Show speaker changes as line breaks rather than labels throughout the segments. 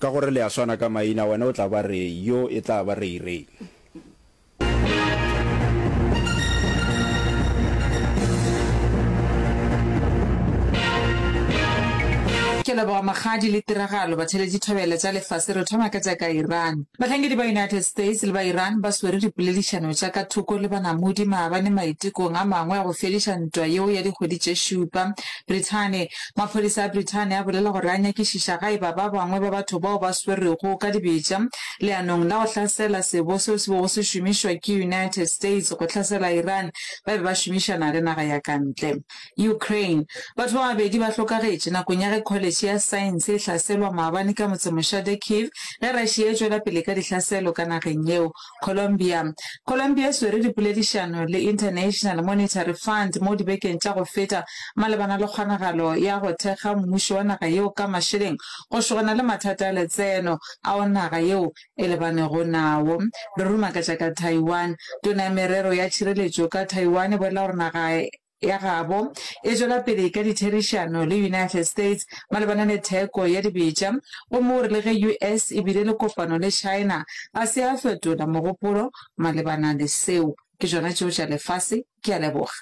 Ka gore le a swana ka maina, wena o tla ba Ray, yo e tla ba Ray Ray.
Ke leboga Magadi le tiragalo batheeletši thobela tša lefase re thoma ka tša ka Iran. Bahlankedi ba United States le ba Iran ba swere dipoledišano tša ka thoko le banamodi maabane maitekong a mangwe a go fediša ntwa yeo ya dikgwedi tše šupa. Brithani, Maphodisa a Brithani a bolela gore a nyakišiša ga e ba ba bangwe ba batho bao ba swerwego ka dibetša leanong la go hlasela sebo seo se bego se šomišwa ke United States go hlasela Iran ba be ba šomišana le naga ya ka ntle. Ukraine, Batho ba babedi ba hlokagetše nakong ya ge kholetšhe ya saense e hlaselwa maabane ka motsemošate Kyiv ge Russia e tšwela pele ka dihlaselo ka nageng yeo. Colombia, Colombia e swere dipoledišano le International Monetary Fund mo dibekeng tša go feta malebana le kgonagalo ya go thekga mmušo wa naga yeo ka mašeleng go šogana le mathata a letseno ao naga yeo e lebanego nawo. Re ruma ka tša ka Taiwan. Tona ya Merero ya Tšhireletšo ka Taiwan e bolela gore naga ya gabo e tšwela pele ka ditherišano le United States malebana le theko ya dibetša gomme o re le ge US e bile le kopano le China ga se ya fetola mogopolo malebana le seo. Ke tšona tšeo tša lefase. Ke a leboga.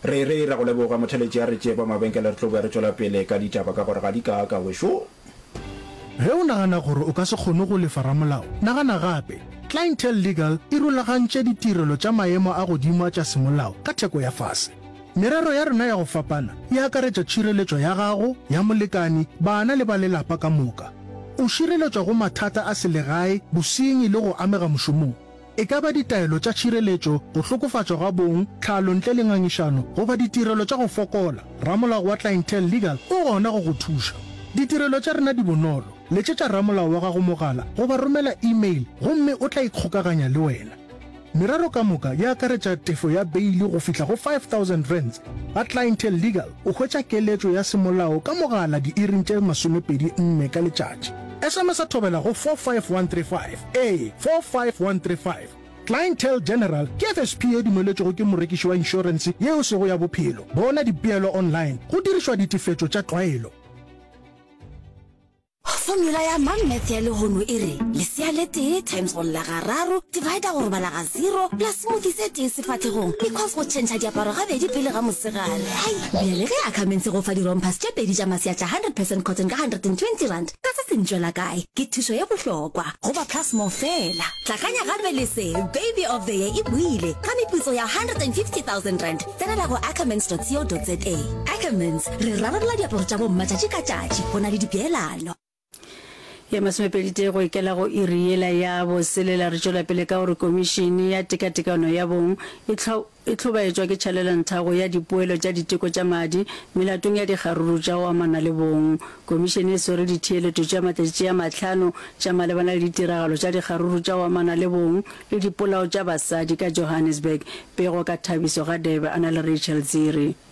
Re re ra go leboga motheletši a re tšee ba mabenkele re tlo boya re tšwela pele ka ditaba ka gore ga di kaaka wešo.
Ge o nagana gore o ka se kgone go lefa ramolao, nagana gape. Clientele Legal e rulagantše ditirelo tša maemo a godimo a tša semolao ka theko ya fase. Merero ya rena ya go fapana e akaretša tšhireletšo ya gago, ya molekani, bana le ba lelapa ka moka. O šireletšwa go mathata a selegae, bosenyi le go amega mošomong. E ka ba ditaelo tša tšhireletšo, go hlokofatšwa ga bong, tlhalo ntle le ngangišano, goba ditirelo tša go fokola, ramolao wa Clientele Legal o gona go go thuša. Ditirelo tša rena di bonolo, letšetša ramolao wa gago mogala goba romela e-mail gomme o tla ikgokaganya le wena. Merero ka moka e akaretša tefo ya beili go fihla go R5000. Ga Clientele Legal o hwetša keletšo ya semolao ka mogala diiring tše 24 ka letšatši. SMS-a thobela go 45135. Ee, 45135. Clientele General ke FSP ye dumeletšwego ke morekiši wa inšorense ye e sego ya bophelo. Bona dipeelo online go dirišwa ditefetšo tša tlwaelo.
Formula ya Mom Math ya lehono e re, lesea le tee times go lla gararo, divider go robala ga zero, plus smoothie se tee sefahlegong, equals go tšhentšha diaparo gabedi pele ga mosegare. Hai! Bjale ge Ackermans e go fa di-rompers tše pedi tša masea tša 100 percent cotton ka R120, ka se se ntšwela kae? Ke thušo ye bohlokwa go ba Plus More fela. Hlakanya gape le se, Baby of the Year e boile ka meputso ya R150 000. Tsenela go ackermans.co.za. Ackermans, re rarolla diaparo tša bomma tšatši ka tšatši go na le dipeelano.
Ye masomepeditee go ikela go iri yela ya boselela re tšwela pele ka gore Komišene ya Tekatekano ya Bong e E hlobaetšwa ke tšhalelonthago ya dipoelo tša diteko tša madi melatong ya dikgaruru tša go amana le bong. Komišene e swere ditheeletšo tša matšatši a mahlano tša malebana le ditiragalo tša dikgaruru tša go amana le bong le dipolao tša basadi ka Johannesburg. Pego ka Thabiso Radebe a na le Rachel Dziri.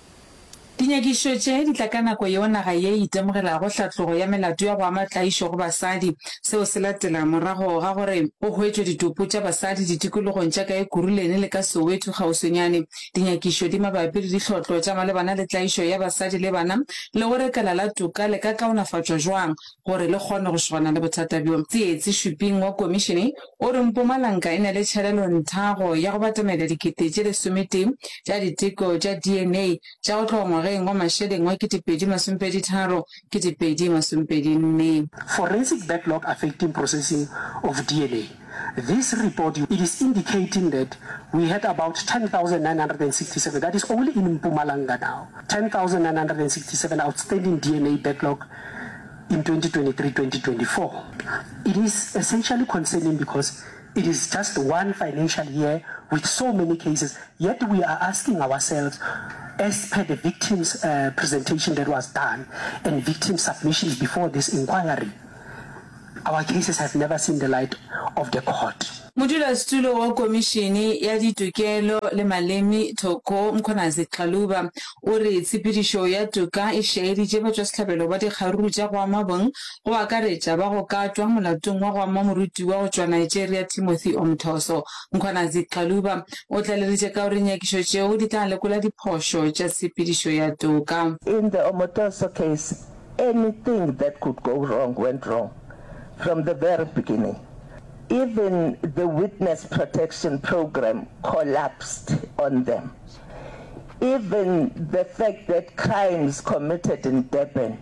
Dinyakišišo tše di tla ka nako yeo naga ye e itemogelago hlatlogo ya melato ya go ama tlaišo go basadi. Seo se latela morago ga gore go hwetšwe ditopo tša basadi ditikologong tša ka Ekurhuleni le ka Soweto kgauswinyane. Dinyakišo di mabapi le dihlotlo tša malebana le tlaišo ya basadi le bana le gore kala la toka le ka kaonafatšwa jwang gore le kgone go šogana le bothata bjo. Tsietsi Shuping wa komišene o re Mpumalanga e na le tšhalelonthago ya go batamela dikete tše lesometee tša diteko tša DNA tša go tloga ngwageng wa mašeleng wa 2023, 2024.
Forensic backlog affecting processing of DNA. This report it is indicating that we had about 10,967, that is only in Mpumalanga now, 10,967 outstanding DNA backlog in 2023-2024. It is essentially concerning because it is just one financial year with so many cases, yet we are asking ourselves, as per the victims uh, presentation that was done and victim submissions before this inquiry, our cases have never seen the light of the court.
Modulasetulo wa Komišene ya Ditokelo le Maleme, Thoko Mkhwanazi Xaluva, o re tshepedišo ya toka e šaeditše batšwasehlabelo ba dikgaruru tša go ama bong, go akaretša ba go katwa molatong wa go ama morutiwa go tšwa Nigeria Timothy Omothoso. Mkhwanazi Xaluva o tlaleleditše ka gore dinyakišo tšeo di tla lekola diphošo tša tshepedišo ya toka.
In the Omotoso case, anything that could go wrong went wrong from the very beginning. Even the witness protection program collapsed on them. Even the fact that crimes committed in Durban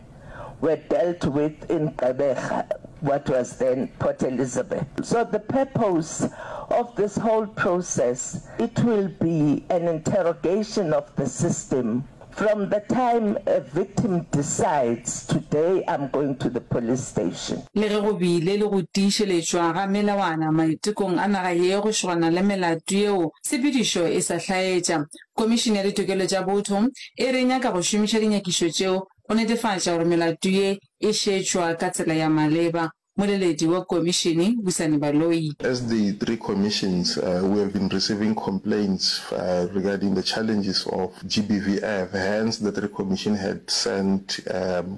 were dealt with in Gqeberha, what was then Port Elizabeth. So the purpose of this whole process, it will be an interrogation of the system from the time a victim decides today I'm going to the police station.
Le ge go bile le go tiišeletšwa ga melawana maitekong a naga ye go šogana le melato yeo tshepedišo e sa hlaetša, Komišene ya Ditokelo tša Botho e re e nyaka go šomiša dinyakišo tšeo go netefatša gore melato ye e šetšwa ka tsela ya maleba. Moleledi wa komišene, Busani Baloyi.
As the three commissions, we have been receiving complaints regarding the challenges of GBVF, hence the three commission had sent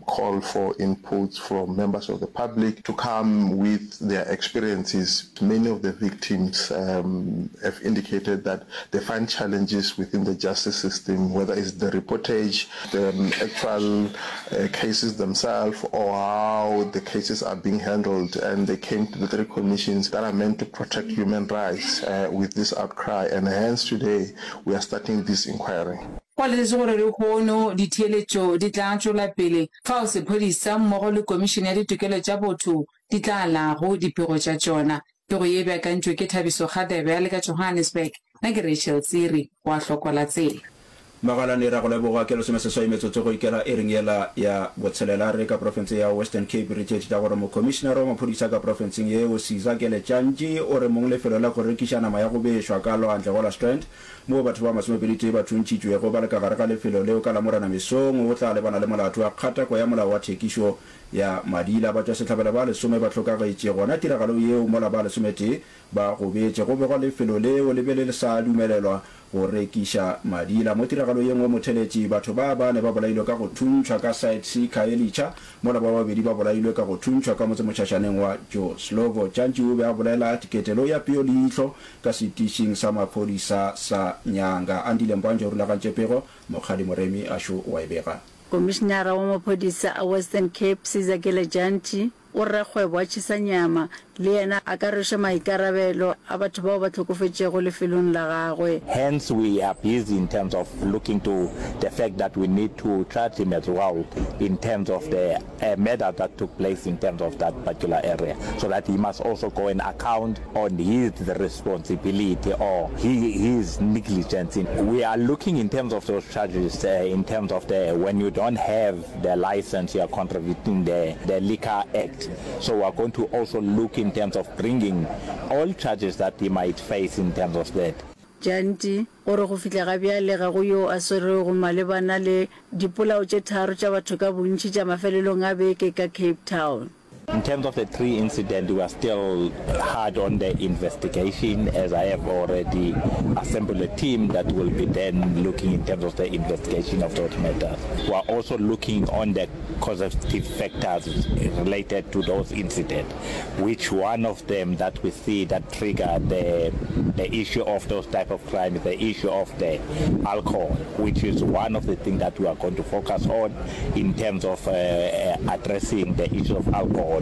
call for inputs from members of the public to come with their experiences. Many of the victims have indicated that they find challenges within the justice system, whether it's the reportage, the actual cases themselves or how the cases are being handled and they came to the three commissions that are meant to protect human rights with this outcry and hence today we are starting this inquiry.
Go letetšwe gore lehono ditheeletšo di tla tšwela pele fao sephodisa mmogo le Komišene ya Ditokelo tša Botho di tla alago dipego tša tšona. Pego ye e beakantšwe ke Thabiso Kgadebe a le ka Johannesburg. Nna ke Rachel Tsiri wa Hlokwa la Tsela.
Magalane, Ra go leboga. Ke lesomeseswai metsotso go ikela iring yela ya botshelela. Re ka profense ya Western Cape re tšeetše tša gore mokhomišinara wa maphodisa ka profenseng yeo, Sizakele Tjantji, o re mong lefelo la go rekiša nama ya go bešwa ka lwandle gola Strand, moo batho ba masomepeditee ba thuntšhitšwego ba le ka gare ga lefelo leo ka Lamorena mesong, o tla lebana le molato wa kgatako ya molao wa thekišo ya madila. Batšwasehlabelo ba lesome ba hlokagetše gona tiragalong yeo mola ba lesometee ba gobetše. Go begwa lefelo leo le be le sa dumelelwa go rekiša madila. Mo tiragalong ye nngwe motheletši, batho ba bane ba bolailwe ka go thuntšhwa ka Site C Khayelitsha, mola ba babedi ba bolailwe ka go thuntšhwa ka motsemotšhašaneng wa Joe Slovo. Tšantši o be a bolela ketelo ya peo leihlo ka setišing sa maphodisa sa Nyanga. Andile Mbanje o rulagantše pego, Mokgadi Moremi Ashu o a e bega.
Komišinara wa maphodisa a Western Cape, Sizakele Dyantyi, o re rakgwebo wa tšhesa nyama le yena a ka rwešwa maikarabelo a batho bao ba hlokofetšego lefelong la gagwe.
Hence we are busy in terms of looking to the fact that we need to charge him as well in terms of the murder that took place in terms of that particular area so that he must also go and account on his responsibility or his negligence. We are looking in terms of those charges in terms of the when you don't have the license you are contravening the the Liquor Act so we are going to also look in terms of bringing all charges that he might face in terms of that.
Janti o re go fihla ga bjale ga go yo a swerwego malebana le dipolao tše tharo tša batho ka bontši tša mafelelong a beke ka Cape Town.
In terms of the three incident we are still hard on the investigation as I have already assembled a team that will be then looking in terms of the investigation of those matters. We are also looking on the causative factors related to those incident which one of them that we see that trigger the the issue of those type of crime the issue of the alcohol which is one of the things that we are going to focus on in terms of addressing the issue of alcohol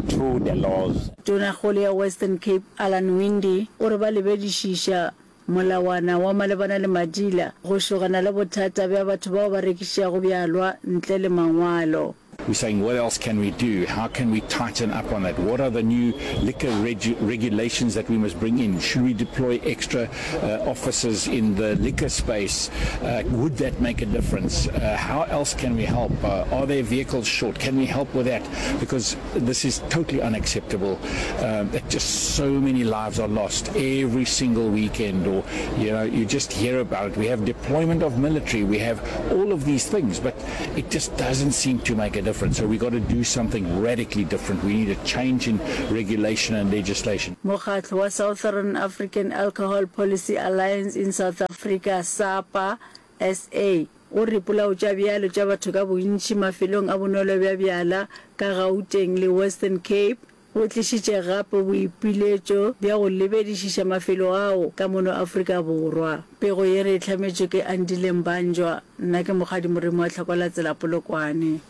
through the laws.
Tonakgolo ya Western Cape Alan Winde o re ba lebedišiša molawana wa malebana le madila go šogana le bothata bja batho bao ba rekišago bjalwa ntle le mangwalo.
We're saying what else can we do? How can we tighten up on that? What are the new liquor regu regulations that we must bring in? Should we deploy extra uh, officers in the liquor space? Uh, would that make a difference? Uh, how else can we help? Uh, are there vehicles short? Can we help with that? Because this is totally unacceptable um, that just so many lives are lost every single weekend or, you know, you just hear about it. We have deployment of military. We have all of these things, but it just doesn't seem to make a difference. different. So we got to do something radically different. We need a change in regulation and legislation.
Mokgatlo wa Southern African Alcohol Policy Alliance in South Africa, SAPA, SA, o re dipolao tša bjalo tša batho ka bontši mafelong a bonwelo bja bjala ka Gauteng le Western Cape bo tlišitše gape boipiletšo bja go lebedišiša mafelo ao ka mono Afrika Borwa. Pego ye re e hlametšwe ke Andile Mbanjwa, nna ke Mokgadi Moremi wa Tlhakolatsela Polokwane.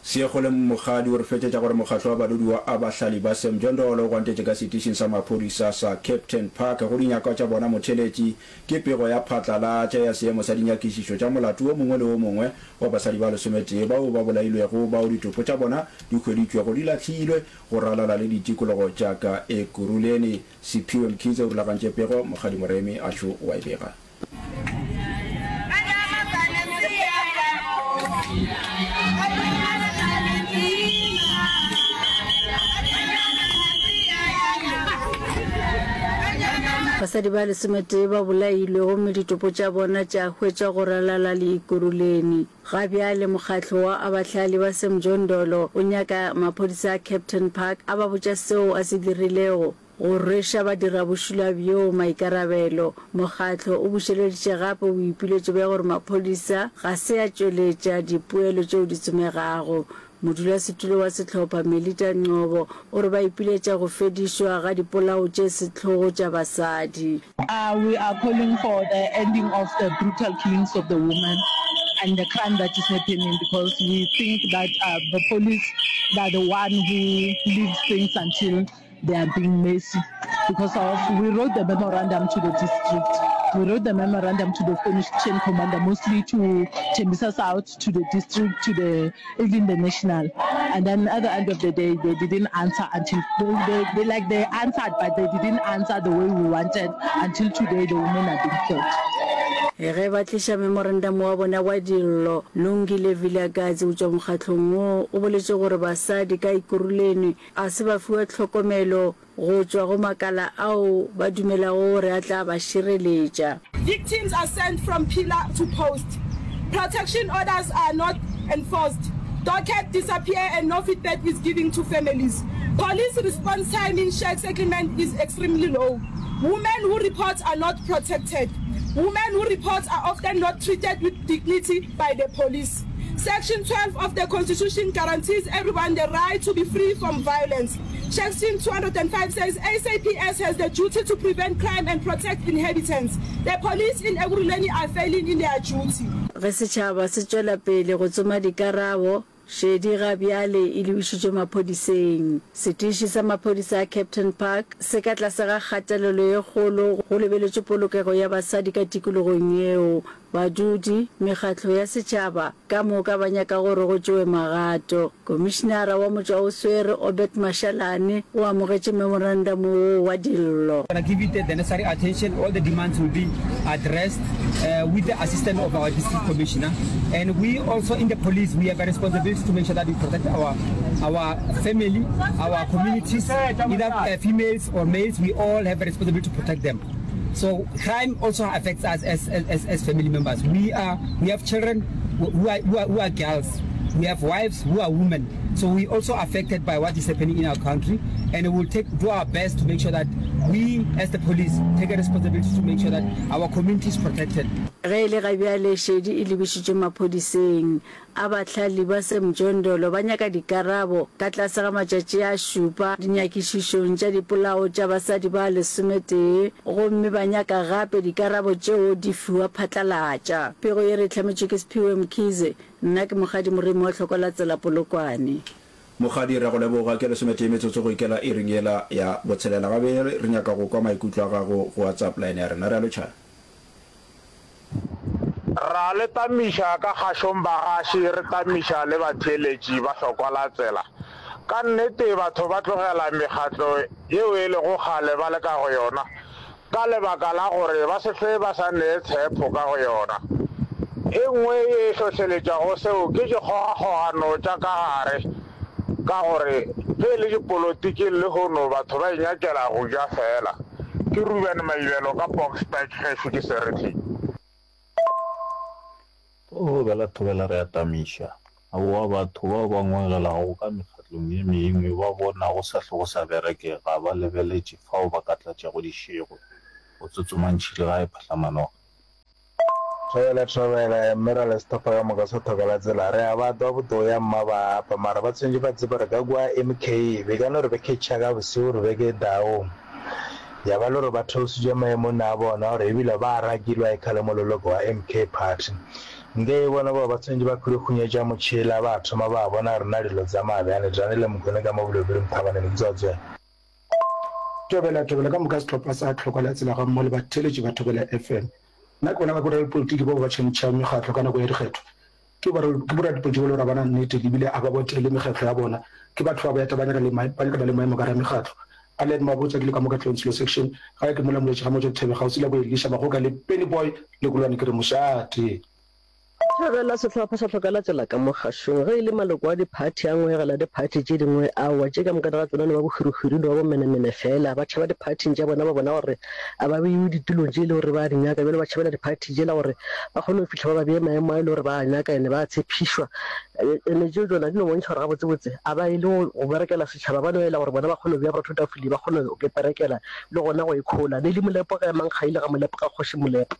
Seekgoleng Mokgadi o re fetšetša gore mokgatlo wa badudi wa Abahlali ba Sam Jondolo o gwantetše ka setišing sa maphodisa sa Kempton Park go dinyakwa tša bona motheletši ke pego ya phatlalatša ya seemo sa dinyakišišo tša molato wo mongwe le wo mongwe wa basadi ba lesometee bao ba bolailwego bao ditopo tša bona di hweditšwego di lahlilwe go ralala le ditikologo tša ka Ekurhuleni. Siphiwe Mkhize o rulagantše pego, Mokgadi Moremi Ashu o a e bega.
Basadi ba lesometee ba bolailwe gomme ditopo tša bona tša hwetšwa go ralala le Ekurhuleni. Ga bjale mokgatlo wa Abahlali ba Semjondolo o nyaka maphodisa a Kempton Park a ba botša seo a se dirilego go rweša badirabošula bjoo maikarabelo. Mokgatlo o bušeleditše gape boipiletšo bja gore maphodisa ga se a tšweletša dipoelo tšeo di tsomegago. Modulasetulo wa sehlopha, Melita Ngcobo, o re ba ipiletša go fedišwa ga dipolao tše sehlogo tša basadi.
We are calling for the ending of the brutal killings of the women and the crime that is happening because we think that the police they are the one who leaves things until they are being messy because of we wrote the memorandum to the district we wrote the memorandum to the chain commander mostly to Tembisa South to the district to the even the national and then at the end of the day they didn't answer until they, they, they like they answered but they didn't answer the way we wanted until today the women are being killed.
Ge ba tliša memorandamo wa bona wa dillo, Lungile Vilakazi go tšwa mokgahlong woo o boletše gore basadi ka Ekurhuleni ga se ba fiwa tlhokomelo go tšwa go makala ao ba dumelago gore a tla ba šireletša.
Victims are sent from pillar to post, protection orders are not enforced, docket disappear and no feedback is given to families. Police response time in shack settlement is extremely low. Women who report are not protected. Women who report are often not treated with dignity by the police. Section 12 of the Constitution guarantees everyone the right to be free from violence. Section 205 says SAPS has the duty to prevent crime and protect inhabitants. The police in Ekurhuleni are failing in their duty.
Ge setšhaba se tšwela pele go tsoma dikarabo, šedi ga bjale e lebišitšwe maphodiseng. Setiši sa maphodisa a Kempton Park se ka tlase ga kgatelelo ye kgolo go lebeletšwe polokego ya basadi ka tikologong yeo. Badudi, mekgatlo ya setšhaba ka moka ba nyaka gore go tšewe magato. Komišinara wa Motšwaoswere Obed Mashalane o amogetše memorandamo woo wa dillo.
Gonna give it the necessary attention, all the demands will be addressed with the assistance of our district commissioner and we also in the police we have a responsibility to make sure that we protect our our family, our communities, either females or males, we all have a responsibility to protect them. So crime also affects us as, as, as family members. We are we have children who are, who are, who are girls. We have wives who are women. So we also affected by what is happening in our country and we will take do our best to make sure that we as the police take a responsibility to make sure that our community is protected.
Ge e le ga bjale šedi e lebišitšwe maphodiseng. A Bahlahli ba Semjondolo ba nyaka dikarabo ka tlase ga matšatši a šupa dinyakišišong tša dipolao tša basadi ba lesometee gomme ba nyaka gape dikarabo tšeo di fiwa phatlalatša. Pego ye re e hlametšwe ke Sphiwe Mkhize, nna ke Mokgadi Moremi wa Hlokolatsela Polokwane.
Mokgadi, re a go leboga. Ke lesometee metsotso go ikela iring yela ya botshelela. Gabe re nyaka go kwa maikutlo a gago go WhatsApp line ya rena. Re a lotšha.
Ra le tamiša ka kgašong bagaši, re tamiša le batheeletši ba hlokwa la tsela. Ka nnete batho ba tlogela mekgatlo yeo e lego kgale ba le ka go yona ka lebaka la gore ba se hlwe ba sa nee tshepo ka go yona. E nngwe ye e hlohleletšago seo ke dikgogakgogano tša ka gare ka gore ge e le dipolotiking lehono batho ba inyakela go ja feela. Ke Ruben Maibelo ka Boksburg gešo ke Sereti.
Thobela thobela re a tamiša. Aowa, batho bao ba ngwegelago ka mekgatlong ye mengwe ba bona go sa hlwe go sa bereke, ga ba lebeletše fao ba ka tlatšago dišego. Go tsotsoma ntšhile ga e phahla manoga.
Thobela thobela mme ra le sehlopha ka moka sa Thobela Tsela re a ba twa botoya mma ba apa mara ba tshwentše ba tsebe gore ka kua MK be ka no re be catcha ka bosigo re be ke daong ya ba le gore ba theositšwe maemong a bona gore ebile ba rakilwa e khale mololoko wa MK party nke e bona bao ba tshwentše ba khurikhunyetša motšhela ba thoma ba bona gore na dilo tsamaya bjane Dane le Mokone ka mo Bolobiri Mthabaneng Tswatswe.
Thobela, Thobela ka moka sehlopha sa Tlhokwa la Tsela gammogo le batheeletši ba Thobela FM. Nna ke bona ba boradipolotiki bao ba tšhentšhang mekgatlo ka nako ya dikgetho. Ke ke boradipolotiki ba le gore ga ba na nnete ebile ga ba botele mekgatlo ya bona. Ke batho ba ba eta ba nyaka le ba nyakana le maemo ka gare ga mekgatlo. Allen Mabotja ke le ka mo Katlehong Tshilo Section, gae ke mola Moletši ga Motšwa Thebe kgauswi la bo Elisha Magoka le Penny Boy Lekolwane ke re mošate.
Thabela sehlopha sa Hlokela Tsela ka mo kgašong. Ge e le maloko a diphathi a ngwegela diphathi tše dingwe, aowa, tše ka moka ga tsona no ba bohwirihwiri, no ba bomenemene feela. Ba tšhaba diphathing tša bona, ba bona gore a ba beiwe ditulong tše e le gore ba a di nyaka, bjale ba tšhabela diphathi tšela gore ba kgone go fihla ba ba bee maemo a e le gore ba a nyaka ene ba a tshepišwa. Ene tšeo tšona di no bontšha gore gabotsebotse a ba ye le go berekela setšhaba, ba no ela gore bona ba kgone go bea borotho tafoleng, ba kgone go iperekela le gona go ikhola. Nelly Molepo ga emang kgaile ga Molepo ga Kgoši Molepo.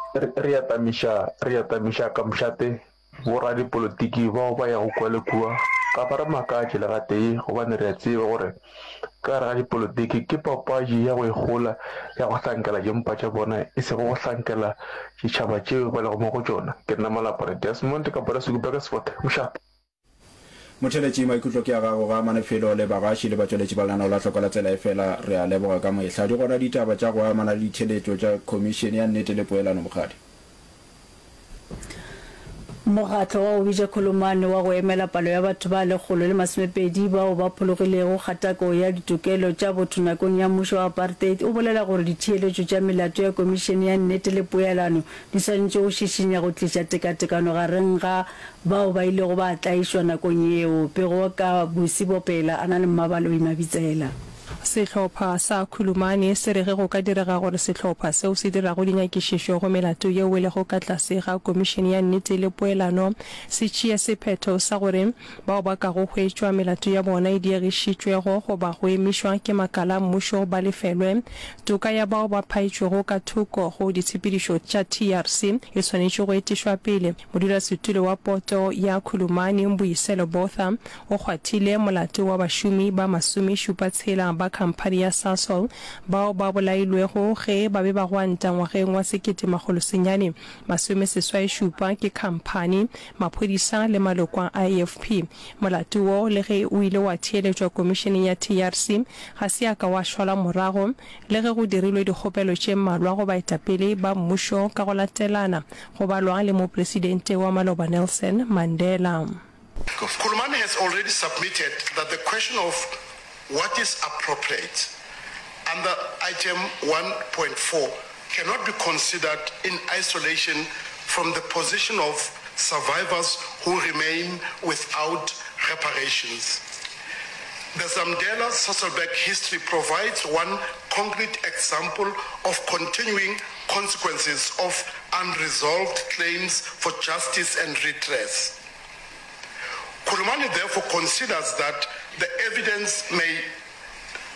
Re a tamiša, re a tamiša ka mošate boradipolotiki bao ba yago kua le kua ga ba re makatše le gatee gobane re a tseba gore ka gare ga dipolotiki ke papadi ya go ikgola ya go hlankela dimpa tša bona e sego go hlankela ditšhaba tšeo ba lego mo go tšona. Ke nna Malapane Desmond ka Polasi Burgersfort, mošate.
Motheeletši, maikutlo ke a gago ga amane felo le bagaši le batšweletši ba lenaneo la Hloko la Tsela efela re a leboga ka mehla. Di gona ditaba tša go amana le ditheeletšo tša Khomišene ya Nnete le Poelano Mokgadi.
Mokgatlo wa go bitša Khulumane wa go emela palo ya batho ba 120 bao ba phologilego kgatako ya ditokelo tša botho nakong ya mmušo wa apartheid o bolela gore ditheeletšo tša melato ya Komišene ya Nnete le Poelano di swanetše go šišinya go tliša tekatekano gareng ga bao ba ilego ba tlaišwa nakong yeo. Pego ka Busi Bopela a na le Mmabaloi Mabitsela.
Sehlopha sa Khulumane se re ge go ka direga gore sehlopha seo se dirago dinyakišišo go melato yeo e lego ka tlase ga Komišene ya Nnete le Poelano se tšee sephetho sa gore bao ba kago hwetšwa melato ya bona e diegišitšwego goba go emišwa ke makala a mmušo ba lefelwe, toka ya bao ba phaetšwego ka thoko go ditshepedišo tša TRC e swanetše go etišwa pele. Modulasetulo wa poto ya Khulumani, Mbuyiselo Botha, o kgwathile molato wa bašomi ba masomešupatshela ba khamphani ya Sasol bao ba bolailwego ge ba be ba gwanta ngwageng wa 1987 ke khamphani, maphodisa le maloko a IFP. Molato wo, le ge o ile wa theeletšwa komišeneng ya TRC, ga se ya ka wa šalwa morago, le ge go dirilwe dikgopelo tše mmalwa go baetapele ba mmušo ka go latelana, go balwa le Mopresidente wa maloba Nelson Mandela.
Khulumani has already submitted that the question of what is appropriate under item 1.4 cannot be considered in isolation from the position of survivors who remain without reparations. The Zamdela Sasolburg history provides one concrete example of continuing consequences of unresolved claims for justice and redress. Khulumani therefore considers that the evidence may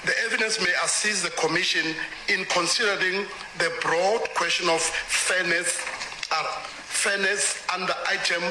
The evidence may assist the Commission in considering the broad question of fairness, fairness under item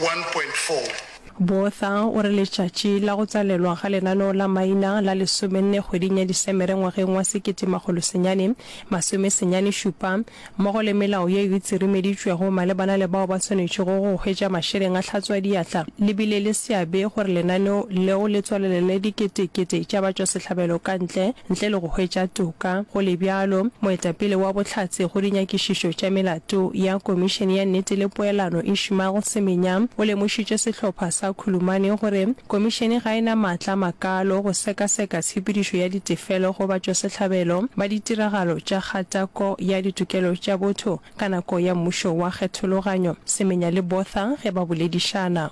1.4.
Botha o re letšatši la go tswalelwa ga lenaneo la maina la lesomenne kgweding ya Disemere ngwageng wa 1997 mmogo le melao yeo e tsirimeditšwego malebana le bao ba swanetšego go hwetša mašeleng a hlatswadiatla le bile le seabe gore lenaneo leo le tswalelele diketekete tša batšwasehlabelo ka ntle ntle le go hwetša toka. Go le bjalo, moetapele wa bohlatse go dinyakišišo tša melato ya Komišene ya Nnete le Poelano Ishmael Semenya o lemošitše sehlopha sa Khulumane gore komišene ga e na maatla a makaalo go sekaseka tshepedišo ya ditefelo go batšwasehlabelo ba ditiragalo tša kgatako ya ditokelo tša botho ka nako ya mmušo wa kgethologanyo, Semenya le Botha ge ba boledišana.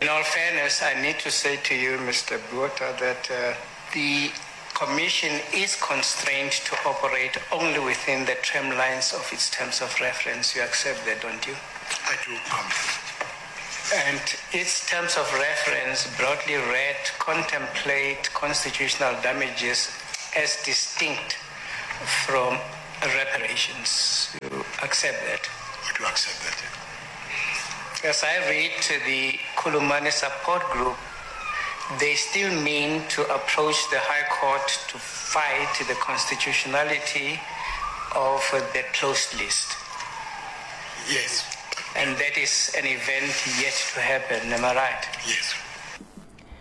In all fairness, I need to say to you, Mister Botha, that the Commission is constrained to operate only within the tramlines of its terms of reference. You accept that, don't you?
I do, Comrade.
And its terms of reference, broadly read, contemplate constitutional damages as distinct from reparations. You accept that?
We do accept that.
As I read the Khulumani support group, they still mean to approach the High Court to fight the constitutionality of the closed list.
Yes.
And that is an event yet to happen, am I right?
Yes.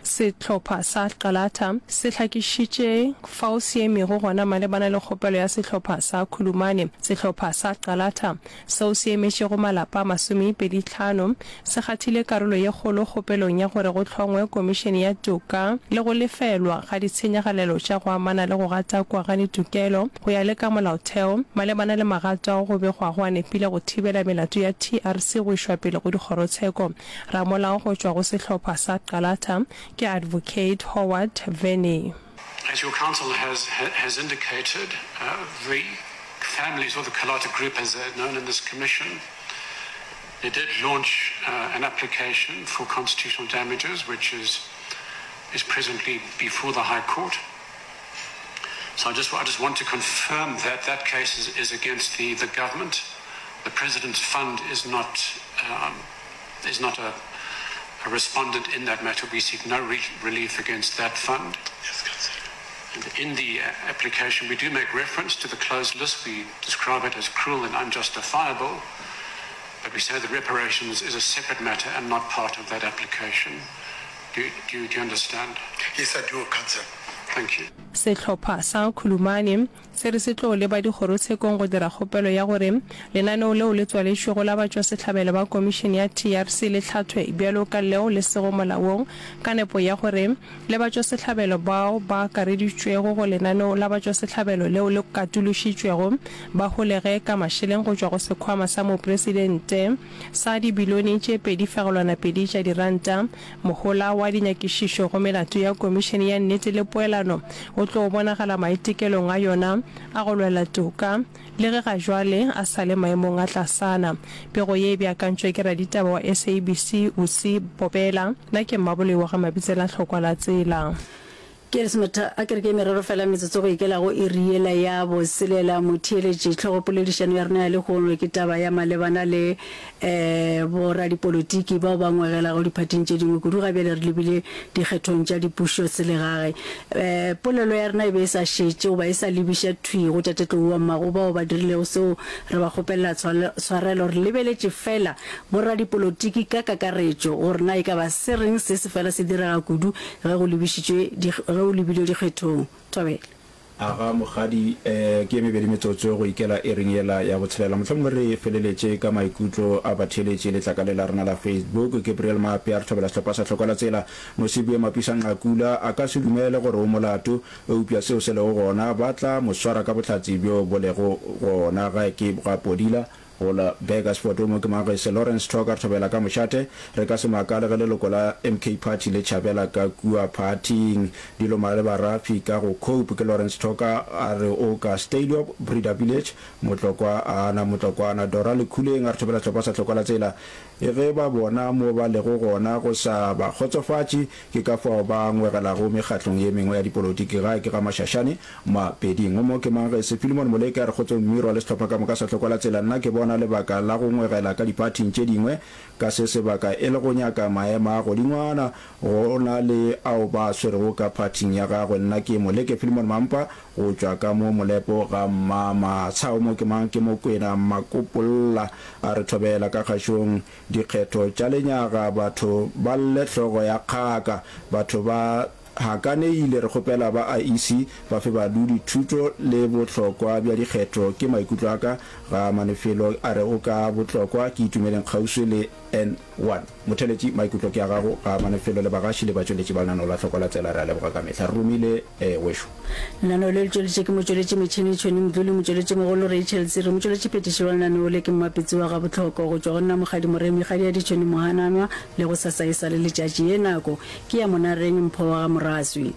Sehlopha sa Qalata se hlakišitše fao se emego gona malebana le kgopelo ya sehlopha sa Khulumane. Sehlopha sa Qalata, seo se emetšego malapa a masomepeditlhano, se kgathile karolo ye kgolo kgopelong ya gore go hlongwe komišene ya toka le go lefelwa ga ditshenyagalelo tša go amana le go gatakwa ga ditokelo go ya le ka molaotheo malebana le magato ao go begwago a nepile go thibela melato ya TRC go išwa pele go dikgorotsheko. Ramolao go tšwa go sehlopha sa Qalata ke Advocate Howard Verney.
As your counsel has has indicated, uh, the families or the Kalata group as they're known in this commission, they did launch uh, an application for constitutional damages, which is is presently before the High Court. So I just, I just want to confirm that that case is, is against the, the government. The President's Fund is not, um, is not a, a respondent in that matter. We seek no re- relief against that fund.
Yes,
and in the uh, application, we do make reference to the closed list. We describe it as cruel and unjustifiable, but we say that reparations is a separate matter and not part of that application. Do, do, do you understand?
Yes, I do, Councillor.
Thank you.
Sehlopha sa Khulumani se re se tlo leba dikgorotshekong go dira kgopelo ya gore lenaneo leo le tswaletšwego la batšwasehlabelo ba komišene ya TRC le hlathwe bjalo ka leo le sego molaong ka nepo ya gore le batšwasehlabelo bao ba akareditšwego go lenaneo la batšwasehlabelo leo le katološitšwego ba holege ka mašeleng go tšwa go sekhwama sa mopresidente sa dibilione tše 2.2 tša diranta. Mohola wa dinyakišišo go melato ya Komišene ya Nnete le Poelano o tlo bonagala maitekelong a yona a go lwela toka, le ge ga jwale a sa le maemong a tlasana. Pego ye e beakantšwe ke raditaba wa SABC Usi Bobela. Nna ke Mmaboloi wa ga Mabitsela Hlokwa la Tsela.
Ke lesometha, a ke re ke merero fela metsotso go ikela go iri yela ya boselela. Motheeletši, hlogopoledišano ya rena ya lehono ke taba ya malebana le um boradipolotiki bao ba ngwegelago diphathing tše dingwe, kudu ga bjale re lebile dikgethong tša dipušoselegae. Um polelo ya rena e be e sa šetše goba e sa lebiša thwi go Tate Tlou wa Mmago bao ba dirilego seo re ba kgopelela tshwarelo. Re lebeletše fela boradipolotiki ka kakaretšo gore na e ka ba se reng se se fela se direga kudu Ge go lebišitšwe di, ge go lebilwe dikgethong. Thobela.
Aga, Mokgadi, eh, ke ye mebedi metsotso go ikela iring yela ya botshelela. Mohlomongwe re feleletše ka maikutlo a batheeletši letlakaleng la rena la Facebook. Gabriel Maape a re thobela sehlopha sa Hlokola Tsela. Nosibue Mapisa Nqakula a ka se dumele gore o molato, eupša seo se lego gona ba tla mo swara ka bohlatse bjo bo lego gona. Gae ke ga Podila Go la Burgersfort o mo ke Magese Lawrence Thoka re thobela ka mošate. Re ka se makale ge leloko la MK Party le tšhabela ka kua phathing. Dilo maleba Rafi ka go Cope ke Lawrence Thoka a re o ka Stadiop, Breda Village, Motlokwa a na Motlokwana Dora Lekhuleng a re thobela sehlopha sa Hlokwa la Tsela. Ge ba bona mo ba lego gona go sa ba kgotsofatše ke ka fao ba ngwegelago mekgatlong ye mengwe ya dipolotiki gae ke ga Mashashane Mapeding. O mo ke mang ge se Philemon Moleke a re kgotsong Mmirwa le sehlopha ka moka sa Hlokwa la Tsela nna ke bona lebaka la go ngwegela ka diphathing tše dingwe ka se sebaka e le go nyaka maemo a godingwana go na le ao ba a swerego ka phathing ya gagwe nna ke Moleke Philemon Mampa go tšwa ka mo Molepo ga Mmamatsha O mo ke mang ke Mokwena Makopolla a re thobela ka kgašong dikgetho tša lenyaga batho ba lle hlogo ya kgaka batho ba Hakaneile re kgopela ba IEC ba fe badudi thuto le bohlokwa bja dikgetho ke maikutlo a ka ga Manefelo a re o ka bohlokwa ke Itumeleng kgauswi le N1 Motheletši maikutlo ke a gago ga Manefelo le bagaši le batšweletši ba lenaneo la Hlokwa la Tsela re a leboga ka mehla re romile wešo.
Lenaneo le le tšweletše ke motšweletši metšhene Tšhweni Mdluli, motšweletšimogolo Rachel Tsiri, motšweletšiphethiši wa lenaneo le ke Mmapitsi wa Gabohloko go tšwa go nna Mokgadi Moremi Kgadi ya Ditšhweni Mohananwa le gosasa e sa le letšatši ye nako Ke ya Monareng Mpho wa ga Moraswi.